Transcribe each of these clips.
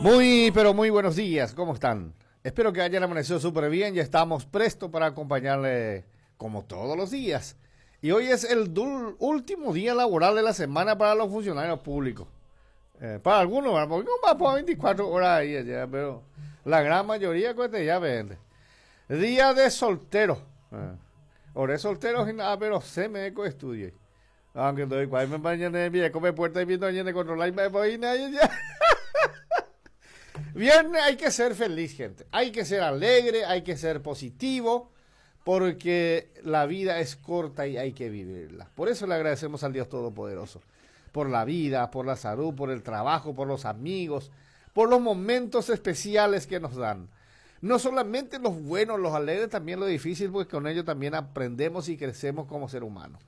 Muy, pero muy buenos días, ¿cómo están? Espero que hayan amanecido súper bien, ya estamos prestos para acompañarle como todos los días. Y hoy es el último día laboral de la semana para los funcionarios públicos. Para algunos, ¿verdad? Porque no va por 24 horas ahí allá, pero la gran mayoría cuesta ya vende. Día de soltero. Ore soltero y nada, pero se me eco estudio. Aunque doy cual me mañana de come puerta y viendo de controlar y me voy nadie ya. Viernes hay que ser feliz, gente. Hay que ser alegre, hay que ser positivo, porque la vida es corta y hay que vivirla. Por eso le agradecemos al Dios Todopoderoso, por la vida, por la salud, por el trabajo, por los amigos, por los momentos especiales que nos dan. No solamente los buenos, los alegres, también lo difícil, porque con ello también aprendemos y crecemos como ser humano.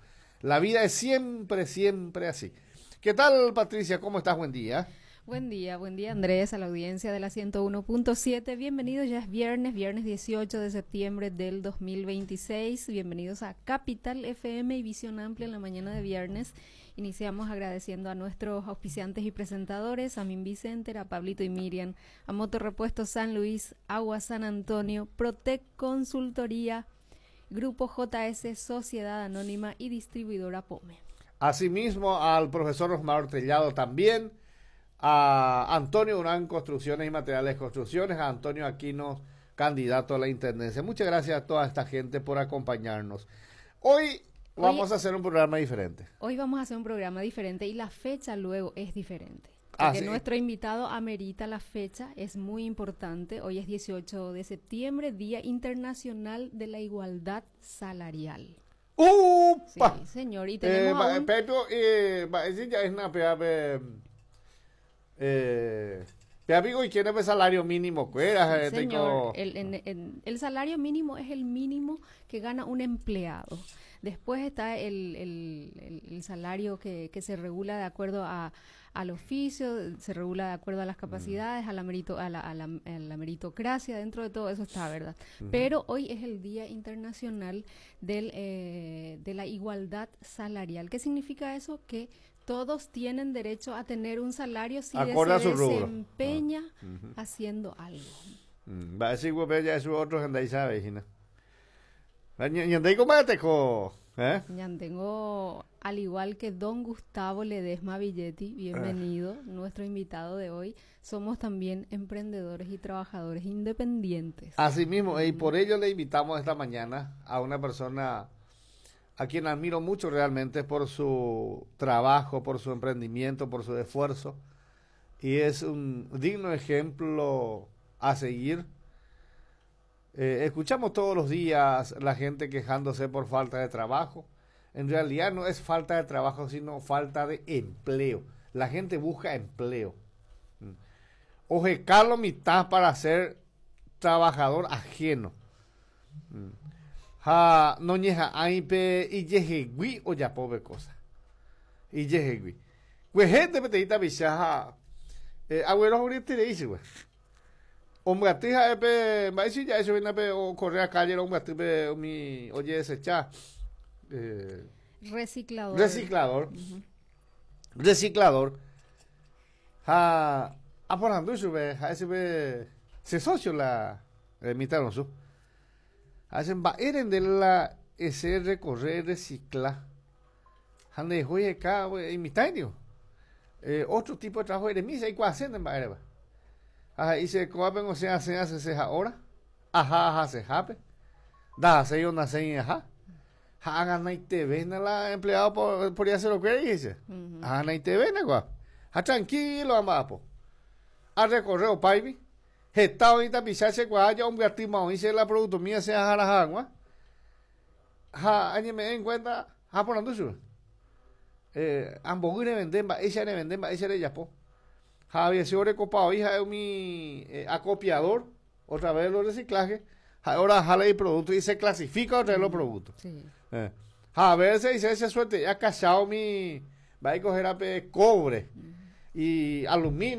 La vida es siempre, siempre así. ¿Qué tal, Patricia? ¿Cómo estás? Buen día. Buen día Andrés, a la audiencia de la 101.7. Bienvenidos, ya es viernes, viernes 18 de septiembre del 2026. Bienvenidos a Capital FM y Visión Amplia en la mañana de viernes. Iniciamos agradeciendo a nuestros auspiciantes y presentadores, a Minvi Center, a Pablito y Miriam, a Motorrepuesto San Luis, Agua San Antonio, Protec Consultoría, Grupo JS Sociedad Anónima y Distribuidora Pome. Asimismo, al profesor Osmar Tellado también, a Antonio Durán Construcciones y Materiales Construcciones, a Antonio Aquino, candidato a la Intendencia. Muchas gracias a toda esta gente por acompañarnos. Hoy vamos a hacer un programa diferente. Hoy vamos a hacer un programa diferente y la fecha luego es diferente. Porque nuestro invitado amerita la fecha, es muy importante. Hoy es 18 de septiembre, Día Internacional de la Igualdad Salarial. ¡Upa! Sí, señor. Y tenemos a un Pepo, ya es una pea, amigo, ¿y quién es el salario mínimo? ¿Qué era? Sí, señor, el salario mínimo es el mínimo que gana un empleado. Después está el salario que se regula de acuerdo al oficio, se regula de acuerdo a las capacidades, a la merito, a la, a la, a la meritocracia, dentro de todo eso está, ¿verdad? Pero hoy es el Día Internacional de la Igualdad Salarial. ¿Qué significa eso? Que todos tienen derecho a tener un salario si Acorde a se su rubro. desempeña haciendo algo. Va a decir, güey, ya es otro gente ahí sabe, Gina. Va, ñandei cómo te co, ¿eh? Ñandengo, al igual que don Gustavo Ledesma Villetti, bienvenido, nuestro invitado de hoy. Somos también emprendedores y trabajadores independientes. Así mismo, y por ello le invitamos esta mañana a una persona a quien admiro mucho realmente por su trabajo, por su emprendimiento, por su esfuerzo, y es un digno ejemplo a seguir. Escuchamos todos los días la gente quejándose por falta de trabajo. En realidad no es falta de trabajo, sino falta de empleo. La gente busca empleo. Oje, Carlos mitad para ser trabajador ajeno. Ja, no ñeja aipe y yejegui o ya pobre cosa. Y yejegui. Pues gente peteita bichaja. Abuelo ahorita le dice, güey. Hombre, atija, epe, va a decir ya eso viene pe, o correr a calle, hombre, atija, pe, mi, oye, ese cha. Reciclador. Reciclador. Reciclador. Ja, a por anducho, ve, ja, ese ve, se socio la mitad no su. Hacen va, eren de la ese recorrer, reciclar. Jande, oye, acá, güey, y mitad, digo. Otro tipo de trabajo de misa y cuál hacen en va, Ajá, y se coapen, o sea, se hace, se ahora. Ajá, ajá, se jape. Da, se yo nace en ajá. Hagan ahí te ven la empleado por ya hacer lo que dice. Hagan ahí te ven, guap. Ja, tranquilo, amapo. A recorrer, paibi. Gestado ahorita pisarse cuaya, hombre, artista, dice la producto mía, se haga agua. Ja, añeme en cuenta, ja, por anducho. Ambos le venden, va, ella le venden, va, ella le yapó. Javier se recopado, hija, es mi acopiador, otra vez los reciclajes. Ahora jala el producto y se clasifica otra vez los productos. A ver, se dice, esa suerte, ya cachado mi, va a coger a pe, cobre y aluminio.